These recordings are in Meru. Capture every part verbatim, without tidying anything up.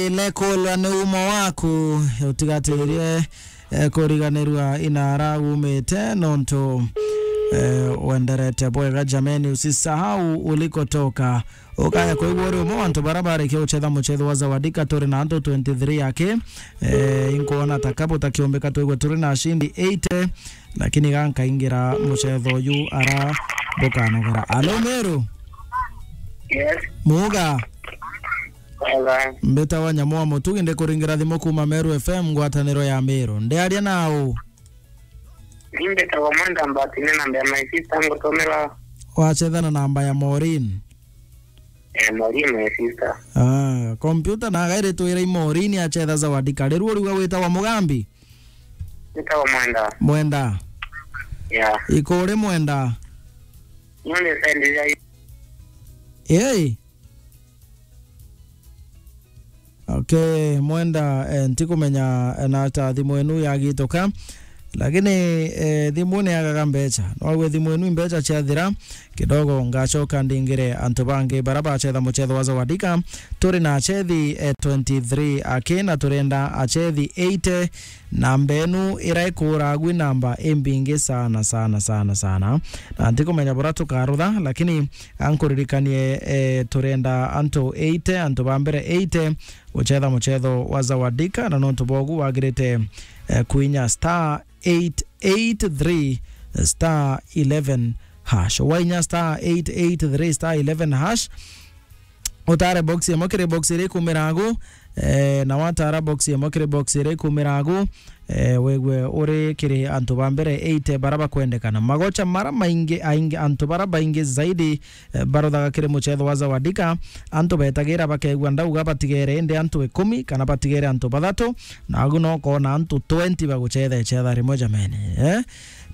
Ile kulwa ni umo waku, utigatirie, eh, kuriganirua inara umite, nontu, eh, wenderete bwega jameni, usisahau ulikotoka. Ukaya kwigua uri umwe wa antu bara barikia gucetha mucetho wa Zawadika, turi na antu twenty-three aki, eh, inkuona ta kabu takiumbika twigwe turi na ashindi eighty, lakini ga nkaingira mucetho uyu ara bukanogera. Alo, Meru? Yes. Muga? Wega. Mbitawa Nyamu wa Mutugi, ndikuringira thimu kuma Meru F M, ngwataniro ya Meru. Ndiaria nau? Ni mbitagwa Mwenda Mbati, ni namba ya my sister ngutumira. Wacetha na namba ya Maureen? Eh, Maureen, my sister. Ah, computer na gairi twira i Maureen acetha Zawadika. Riu uriuga witagwa Mugambi? Nitagwa Mwenda. Mwenda. Yeah. Ikuri Mwenda? Nonde side ya Hey. Okay, Mwenda, eh, ntikumenya, eh, na ta thimu enu yagituka, lakini, eh, thimu ni yagaga mbeca. Nwagwe thimu enu mbeca ciathira, kidogo ngacoka ndingire antu bangi bara bacetha mucetho wa Zawadika. Turi na acethi, eh, twenty-three aki, na turenda acethi eighty. Namba enu ira ikuragwi namba imbingi sana, sana, sana, sana. Na ntikumenya bura tukarutha, lakini ankuririkanie, eh, turenda antu eighty, antu ba mbere eighty, gucetha mucetho wa Zawadika, na nontu bogu wagirite, eh, kuinya star eight eight three star eleven hash. Wainya star eight eight three star eleven hash, utare box imwe kiri box iria ikumiragu, eh, na watara box imwe kiri box iria ikumiragu, eh, wigwe uri kiri antu ba mbere eighty bara bakwendekana. Magocha mara maingi, aingi, antu bara baingi zaidi, eh, baruthaga kiri mucetho wa Zawadika, antu betagira bakegua ndauga batigere, indi antu ikumi kana batigere antu bathatu, na agu no kona antu twenty bagucetha icetha rimwe jameni, eh?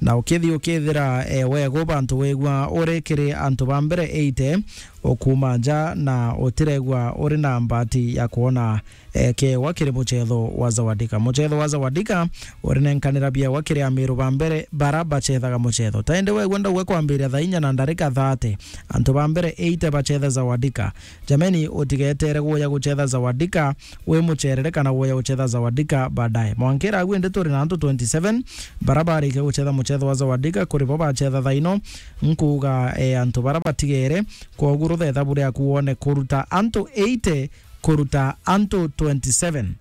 Na ukithii ukithira, eh, wegu bantu wigua uri kiri antu ba mbere eighty, ukuma nja na utiregua uri na mbati ya kwona, eh, kiewa kiri mucetho wa Zawadika. Mucetho wa Zawadika urinenkanira biewa kiri amiru ba mbere bara bacethaga mucetho. Ta indi wegua ndauga kwambiria thaa inya na ndarika thirty, antu ba mbere eighty bacetha Zawadika. Jameni, utigetere guya gucetha Zawadika wi mucerere kana guya gucetha Zawadika baadaye. Mwankira agu indi turi na antu twenty-seven bara barikia gucetha mucetho wa Zawadika, kuri bo bacetha thaa ino. Nkuuga, eh, antu bara batigere, kwogu ruthetha buri aku wone kuruta antu eighty kuruta antu twenty-seven.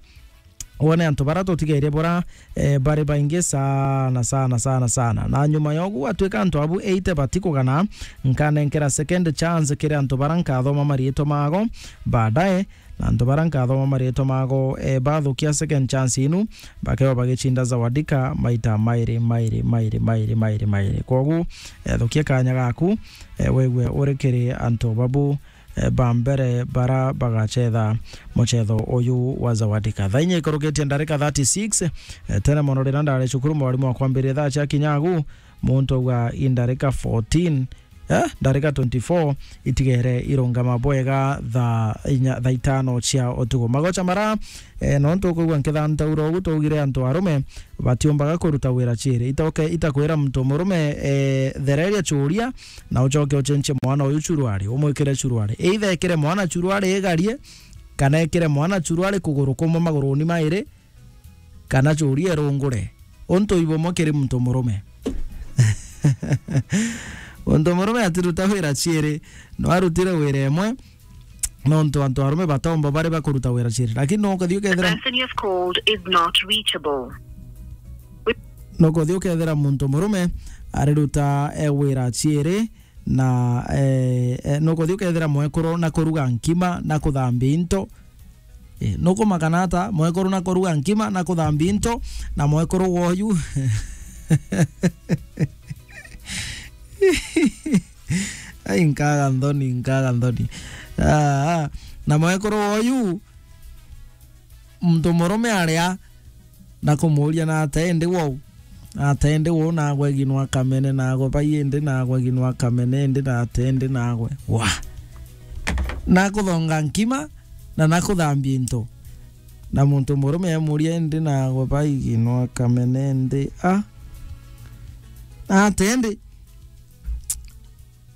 Wone antu bara tutigerie bura, eh, bari baingi sana, sana, sana, sana. Na nyuma yogu, atwika antu abu eighty batikugana, nkanenkera second chance kiri antu bara nkathoma mariitwa mago baadaye, na antu bara nkathoma mariitwa mago, eh, bathukia second chance inu, bakeo bagicinda Zawadika maita mairi, mairi, mairi, mairi, mairi, mairi. Kwogu, eh, thukia kanya gaku, eh, wegwe uri kiri antu babu, eh, ba mbere bara bagacetha mucetho uyu wa Zawadika. Thaa inya ikurukitie ndarika thirty-six, eh, tene mono riria ndari cukuru, mwarimu wa kwambiria thaa cia kinya agu, muntu auga i ndarika fourteen, eh, ndarika twenty-four itigere irungama bwega thaa inya, thaa itano cia utuku. Magocha mara, eh, nontu ukwigua nkithantaura ugu, twaugire antu arume batiumbaga kuruta wira ciiri. Itoke itakwira muntu murume, eh, thereria churia, na ucoke ucenjie mwana uyu churuari, umwikire churuari. Either ekire mwana churuari igarie, kana ekire mwana churuari kuguru kumwe maguruni mairi, kana churia irungure. Untu ibumwe kiri muntu murume. Muntu murume atiruta wira ciiri, no arutire wira imwe, nontu antu arume bataumba bari bakuruta wira ciiri. Lakini no ukathi ukethira The person you have called is not reachable. Nukuthi ukethira muntu murume ariruta, eh, wira ciiri, na, eh, eh, nukuthi ukethira mwekuru na kuruga nkima na kuthambia into. Eh, nukumakana ata mwekuru na kuruga nkima na kuthambia into na mwekuru woyu? Ai, nkaga nthoni, nkaga nthoni. Ah, ah. Na mwekuru woyu, muntu murume aria na kumuuria, na ate indi wou? Na ate indi wou? Nagwe ginwa kamene, nagwe bai indi, nagwe ginwa kamene indi, na ate indi nagwe. Wa. Na kuthonga nkima, na na kuthambia into. Na muntu murume emuuria, indi nagwe bai ginwa kamene indi, a? Na ate indi?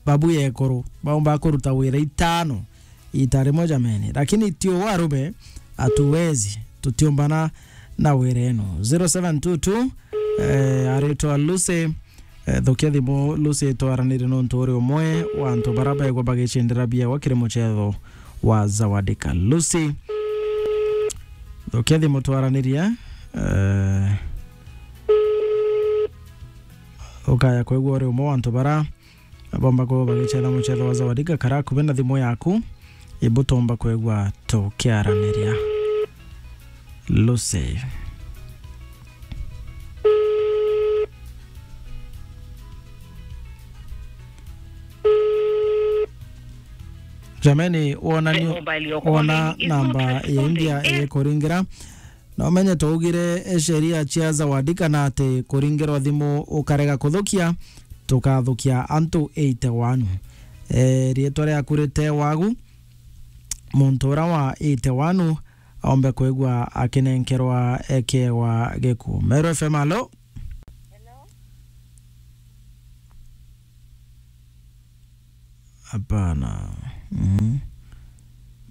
Babu yekuru, baumba kuruta wira itano ita rimwe jameni. Lakini ti uu arume, Hatuwezi, tutiumbana na wira eno. Zero seven two two, eh, aritwa Lucy, eh, thukia thimu Lucy, twaranirie nontu uri umwe wa antu bara baigwa bagicindira biewa kiri mucetho wa Zawadika. Lucy, thukia thimu twaranirie, eh, ukaya kwigua uri umwe wa antu bara bomba kuba bagicetha mucetho wa Zawadika. Kara akubi na thimu yaku, ibutomba kwigua tukiaraniria. Lucy. Jameni, wona ni, wona namba ya India ikuringira. Na umenye twaugire, eh, sheria cia Zawadika na ati kuringirwa thimu ukarega kuthukia, tukathukia antu eighty-one. Eh, riitwa riaku rite wagu, muntu ura wa eighty-one aombe kwigua akinenkerwa ekewa gikuo. Meru F M, alo? Hapana. Mm.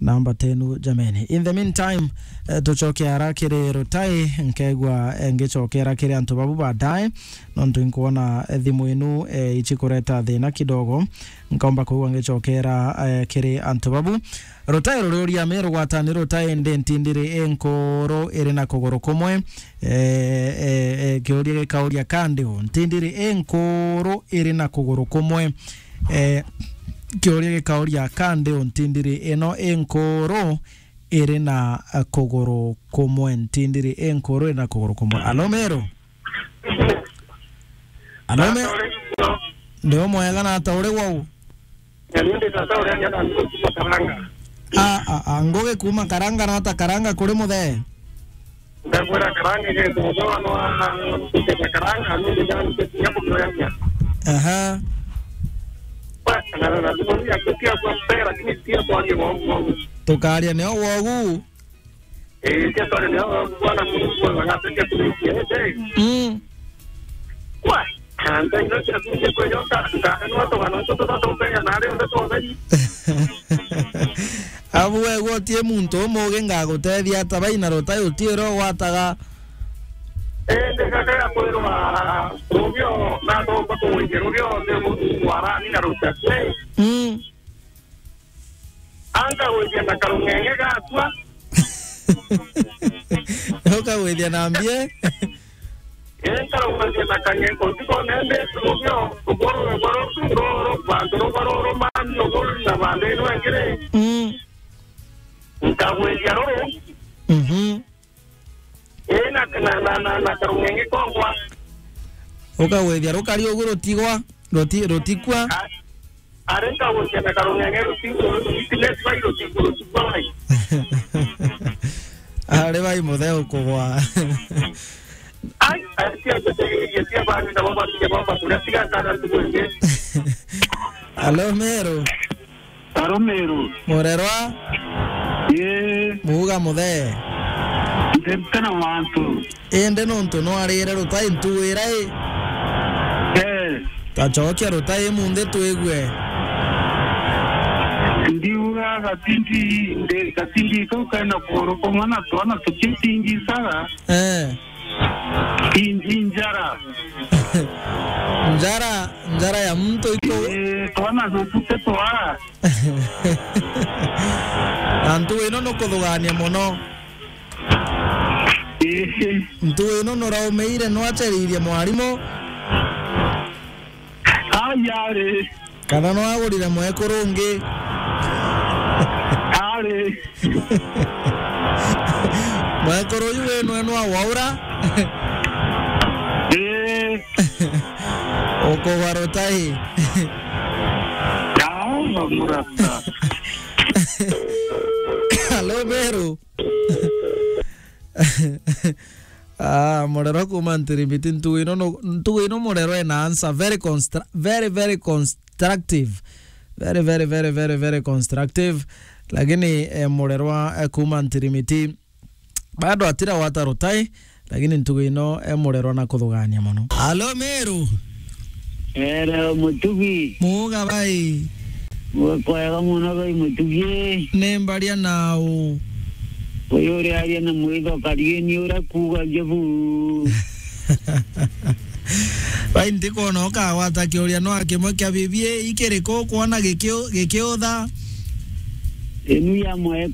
Namba tenu, jameni. In the meantime, eh, tucoke ara kiri Rutai, nkegwa, eh, ngicokera kiri antu babu baadaye, nontu inkwona, eh, thimu inu, eh, ichikureta thina kidogo. Nkaomba kwigua ngicokera, eh, kiri antu babu. Rutai ruriuria, Meru gwatani Rutai, ndi ntindiri inkuru iri na kuguru kumwe. Eh, eh, eh, kiuria gikauria, ka ndi u? Ntindiri inkuru iri na kuguru kumwe. Eh, kiuria gikauria, ka ndi u? Ntindiri ino inkuru iri na, eh, kuguru kumwe. Ntindiri inkuru iri na kuguru kumwe. Alo, Meru? Alo, Me-, ndi umwega, na ata uri wau? Ni ndi tata uria njana ngugi kuma Karanga. A, a, a, ngugi kuma Karanga, na ata Karanga kuri muthee? Ndakwira Karanga ni tata wa no a, Karanga, ni ndi njana ngugi kuma Karanga. Aha. Kwa, na, na, na, tukaria kwa mbere, lakini pia kwa ni wa, wa. Tukaria nio wogu. Eh, tia tore nio bwana Mungu anataka kuikia, eh, eh. Mm. Kwa, anda ino cia kuikia kwa yoka, anda no to bana to to to penya na leo to to. Abu we gwotie muntu umuge ngagutethia ata bai na Rutai utiiro gwataga. Eh, ndikaka ya kwirwa rubio na to ko kuikia rubio ndio warani na Rutai. Mm. Anga gwithia na karung'eng'e gakwa. Ukagwithia na mbie? Ii, nkarugwithia na kang'eng'e utuku nende, rubio, ruguru, ruguru, ruguru, bantu ruguru, rumani, ruguru, na bantu inu engiri. Mm. Nkagwithia ruru. Mhm. Ii, na, na, na, na, na karung'eng'e kongwa. Ukagwithia rukari ugu rutigwa, ruti-, rutikua. A-, ari nkagwithia na karung'eng'e ruti-, ruti-, ruti-, rutikua bai. Ari bai muthe ukugwa. Ai, ai, cia mbetegereria cia bani na baba, cia baba, kuria tiga sana tukwende. Alo, Meru. Aro Meru. Murerwa? Ii. Muuga muthee. Ndete na mantu. Indi nontu nwarire Rutai ntuwira i? Eh. Tacokia Rutai munthi twigue. Ndiuga gatindi, ndi, gatindi kau kaina kuguru kumwe na twana tukitingisaga. Eh. Inji njara. Njara, njara ya muntu iko. Eh, twana tutu tetwara. Na ntugu ino nukuthugania mono. Eh. Ntugu ino nuraumiire, nwaceririe mwarimu? Ai, ari. Kana nwagurire mwekuru ungi? Ari. Mwekuru uyu wenu enu awaura? Ii. Ukugwa Rutai. Yaani, murata. Alo, Meru. Ah, murerwa kuma Ntirimiti, ntugu ino no, ntugu ino murerwa ena answer very constra-, very, very constructive. Very, very, very, very, very constructive. Lakini, eh, murerwa, eh, kuma Ntirimiti, bado atira wata Rutai, lakini ntugu ino, eh, murerwa na kuthugania mono. Alo, Meru. Ere, Mutugi. Muuga bai. Gwe kwega muno bai Mutugi. Ni mbaria nau. Uyu uriaria na mwitho karieni uria kuugagia buu. Bai, ntikwona ukagwata kiuria no kimwe kia bibi ikiriku kwona gikiu-, gikiutha. Inu ya mwae